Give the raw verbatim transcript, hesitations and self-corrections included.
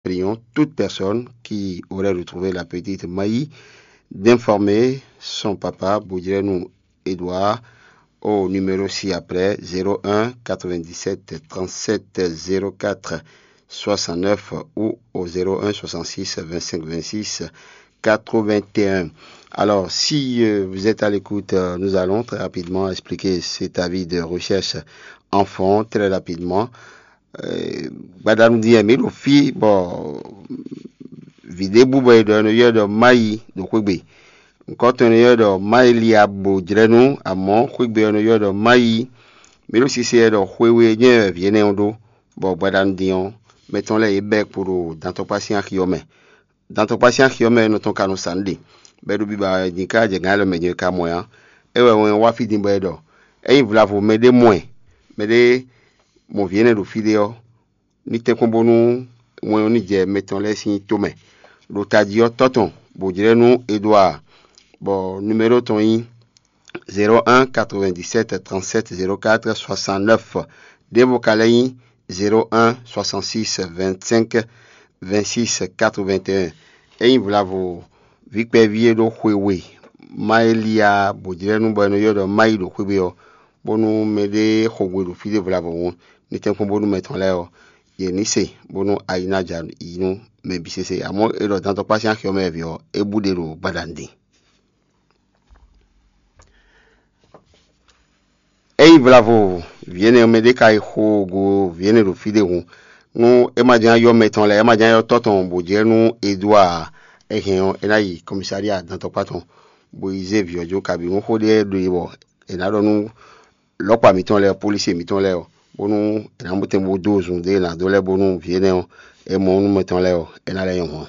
Prions toute personne qui aurait retrouvé la petite Maï d'informer son papa Boudjrenu Edouard au numéro ci-après: zéro un quatre-vingt-dix-sept trente-sept zéro quatre soixante-neuf ou au zéro un soixante-six vingt-cinq vingt-six quatre-vingt-un. Alors, si euh, vous êtes à l'écoute, euh, nous allons très rapidement expliquer cet avis de recherche enfant très rapidement. Gbadanu din wɛ mǐ ɖo fí bɔ vǐ ɖé bú bɔ è ɖɔ è nɔ ylɔ́ ɖɔ Mayi ɖo xwé gbe. Nǔkɔntɔn è nɔ ylɔ́ ɖɔ Mayi Liabo jlɛ́ nú, amɔ̌ xwé gbe ɔ́ è nɔ ylɔ́ ɖɔ Mayi. Mǐ ɖo sise wɛ ɖɔ xwe we jɛ́n wɛ vǐ énɛ́ ɔ́ ɖó, bɔ gbadanu din ɔ́, mɛ tɔn lɛ́ɛ yě bɛ́ kpo ɖo dantɔkpá sín axi ɔ́ mɛ. Dantɔkpá sín axi ɔ́ mɛ nɔ tɔn ka nɔ sa nǔ ɖe, bɔ é ɖo biba wɛ din ká jɛ gǎn élɔ́ mɛ din é ka mɔ ɛ ǎ. É wɛ wɛn wá fí din bɔ é ɖɔ: Ényí vlavo mɛɖé mɔ ɛ, mɛɖé mɔ vǐ énɛ́ ɖo fí ɖé ɔ́, ní tɛ́nkpɔ́n bónú wɛn ɔ́ ní jɛ mɛ tɔn lɛ́ɛ sín tó mɛ. Ɖo tají ɔ́, tɔ́ tɔn bǒ jlɛ́ nú Edouard, bɔ numéro tɔn nyí zéro un quatre-vingt-dix-sept trente-sept zéro quatre soixante-neuf. Ɖěvo ka lɛ́ nyí zéro un soixante-six vingt-cinq vingt-six quatre-vingt-un. Ényí vlavo vǐ kpɛví e ɖó xwe we, Mayi Liabo jlɛ́ nú bɔ è nɔ ylɔ́ ɖɔ Mayi ɖo xwé gbe ɔ́, bónú mɛɖé xo gbe ɖo fí ɖé vlavo hǔn, ní tɛ́nkpɔ́n bónú mɛ tɔn lɛ́ɛ ɔ́, yě ní se, bónú ayi ná ja yi nú mɛ bǐ sésé. Amɔ̌, é ɖɔ dantɔkpá sín axi ɔ́ mɛ vǐ ɔ́, é bú ɖe ɖo gbadanu din. Ényí vlavo vǐ énɛ́ ɔ́ mɛ ɖé ka yi xo go vǐ énɛ́ ɖo fí ɖé hǔn, nú é ma ján ylɔ́ mɛ tɔn lɛ́ɛ, é ma ján ylɔ́ tɔ́ tɔn bǒ jlɛ́ nú Edouard, é hɛn ɔ́, é ná yi kɔmisáɖia dantɔkpá tɔn, bó yi zé vǐ ɔ́ jó, kabǐ nú xó ɖé ɖo yi bɔ è nǎ ɖɔ nú lɔ̌kpa mǐtɔn lɛ́ɛ, polísi mǐtɔn lɛ́ɛ ɔ́, bónú è nǎ mɔ tɛn bó dó zun ɖé è nǎ dó lɛ́ɛ, bónú vǐ énɛ́ ɔ́, é mɔ nú mɛ tɔn lɛ́ɛ ɔ́, é ná lɛ́ nyɔ́ hɔn.